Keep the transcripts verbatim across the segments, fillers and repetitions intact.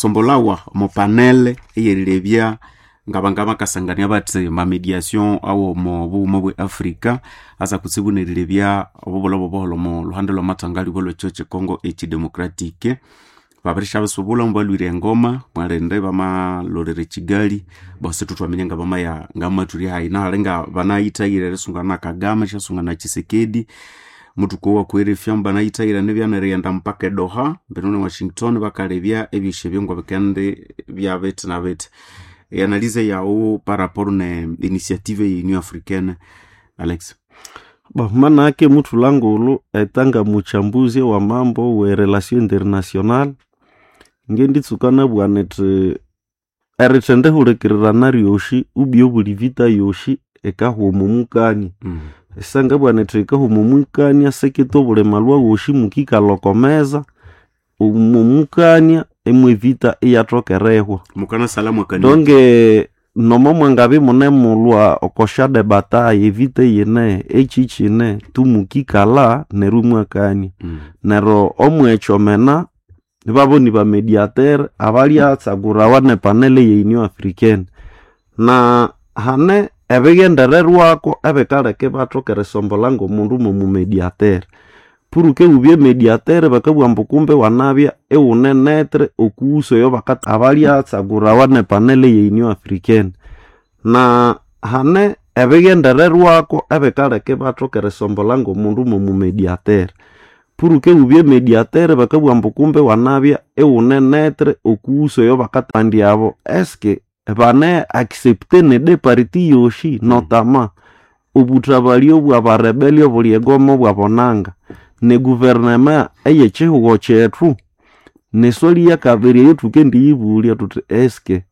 Sombolawa omo panel eyerirebya ngabanga bakasangania bathi ma mediation awo omo bughuma bwe Africa asa kutsibu nerirebya obubulho bobuholho omo luhande lwamathangali lwekyo Congo ekyi democratic. Babirishabisubulha mubalhwire engoma mwalindi bamalholera ekigali bosi ithwathwaminya ngabamaya ngabamathwirya hayi nahali ngabanayithayire erisunga na Kagame erisunga na Tshisekedi muthukowa okwa R F I mubanayithayire nibya nerighenda mpaka e Doha mbinu ne Washington bakalebya ebyosi ebyo ngabikendi bya bithi na bithi. E analyse yawu par rapport ne initiative eye Union Africaine, Alex? Bon, manake muthulha ngulhu etanga muchambuzi wa mambo we relation internationale, ngenditsuka nabugha nithi erithendihulikirirana ryosi ubye obuli vita yosi ikahwa omo mukania. Mm. Isangabugha nithi yikahwa omo mukania sikitha obuli malhwa wosi mukikalha oko meza omo mukania imwe vita iyathoka erihwa. Mukana mwakania. Donge nomo mwangabya imunemulhwa oko champ de bataille evita eyine ekyi kyine tumukikalha neryo imwakania. Mm. Neryo omwekyo mena ibabo niba mediateur abalyatsagurawa ne panel eye Union Africaine. Na hane ebighendererwako ebikaleka ibathoka erisombolha ngomundu mwomu mediateur. Puruke wubye mediateur bakabugha ambu kumbe iwanabya iwune neutre okuhusu eyo baka abalyatsagurawa ne panel eye Union Africaine. Na hane ebighendererwako ebikaleka ibathoka erisombolha ngomundu mwomu mediateur. Puruke wubye mediateur bakabugha ambu kumbe iwanabya iwune neutre okuhusu eyo bakatandi abo eske bane accepte ne deux parties yosi notamment obuthabalya obwa rebelle obuli egoma obwabonanga ne gouvernement eyekyihugho kyethu. Neswali yakabiri eyothukendiyibulya thuthi eske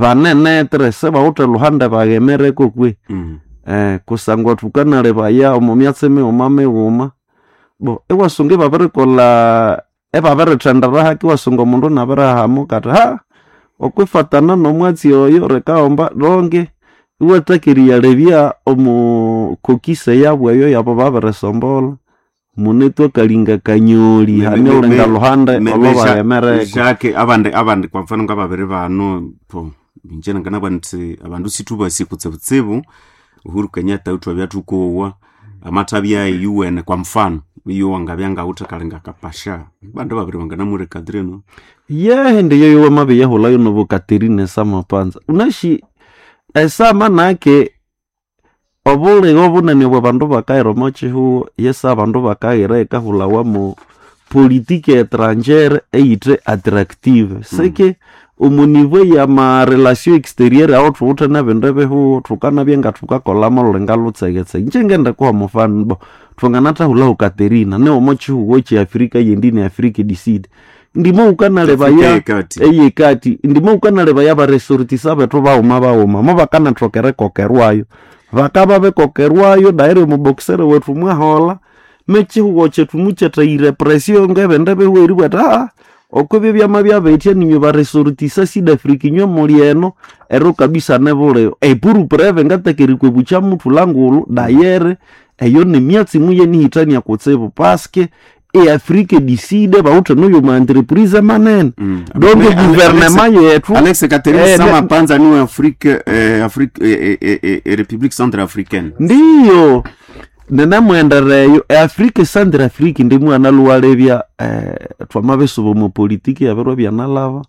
bane neutre sibawithe lhuhande baghemereko kwe? Mm. Eh, kusangwa thukanalebaya omo myatsi mighuma mighuma bo iwasunga ibabirikolha ibabirithendera haki iwasunga omundu inabirihamuka athi ha okwifatana nomwatsi oyo rikahomba donge iwathaka eriyalebya omo kokise yabu eyo yabo babirisombolha munethu akalinga kanyoli Me- hane me- olinga me- lhuhande me- me- olwabaghemereko. Jacques abandi abandi kwa mfano ngababiri bano po inje nanganabwa nthi abandu sithubasi kutsibutsibu Uhuru Kenyatta uthwabya thukowa amathabya e U N kwa mfano iyo wangabya ngawuthe kalinga kapasha bandu babiri banganamureka no. Yehe ndiyo yowamabiyahulhayo nobo Katerine Samapanza unashi esama nake obuligho bunene obwa bandu bakahira omo kihugho yesa abandu bakahira ikahulhawamu politique étrangère eyithe attractive siki omu niveau yama relation extérieure aho thuwithe nebindi bihugho thukanabya ngathukakolhamu olhulinga lhutsegetsege. Inje ngendikuha omufano bo thwanganathahulhahu Katerina niwomo kihugho kye Africa eyendi ni Afrique du Sud ndimo wukanalebaya Afrika eyekati ndimo wukanalebaya abaresortisa bethu baghuma baghuma mubakanathoka erikokerwayo bakaba bekokerwayo daire omuboxer wethu mwaholha mekihugho kyethu mukyathaghire pressure ngebindi bihugho eribugha athi aa okwibya byamabyabethya ninywe baresortisa Sud Africa inywe muli eno ero kabisa nibuliro epuru preve ngataka erikwebukya muthulha ngulhu dayere eyo nemyatsi muyenihithania kutsibu paske e Afrique du Sud bawithe noyo ma entreprise manene Mm. donc Me- Ale- gouvernement yethu Alex Katerine Eh, ne- Samapanza niwe Afrique eh, Afrique eh, eh, eh, eh, République Centrafricaine. Ndiyo nenemwendereyo eAfrique Centrafrique ndi mwana luwalebya eh, twamabisuba omu politiki yabirwa byanalaba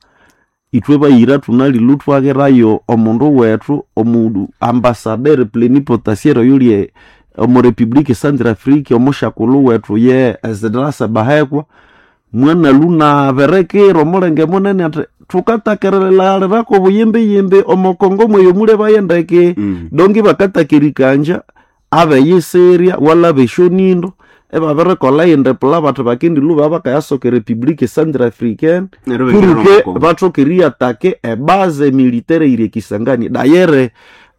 ithwe bayira thunalilu twaghirayo omundu wethu omu ambassadeur plénipotentiaire oyuli omu Republique Centrafrique omushakulhu wethu ye Esdras Bahekwa mwana lunabirekera omulenge munene athi thukatakirilhalirako obuyimbi omo Kongo mweyo mulebaye ndeke. Mm. Donge bakatakerikanja abeyisiria wala abeshonindo ibabirikolha eyindi pula bathi bakendilhuba bakayasoka erepublique centrafricaine Neryo bengirira puruke omu Kongo. bathoka eriyatake ebase militaire eyiri ekisangani dayere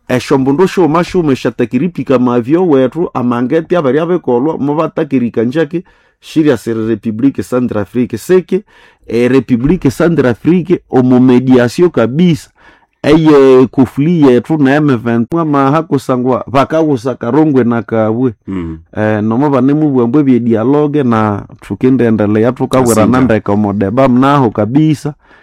esyombundu syuma syuma esyatakira eripika amavyo wethu amangeti abiri abikolwa mubatakerikanjaki shiryasira Republique Centrafrique siki erepublique Centrafrique omu mediation kabisa eye conflit yethu ne M vingt-trois amaha kusangwa bakaghusa Karongwe na Kabwe. Mm. eh, nomo banemubugha ambu ebye dialogue na thukendiendelea thukabwirana Asinja. ndeke omo deba mnaho kabisa.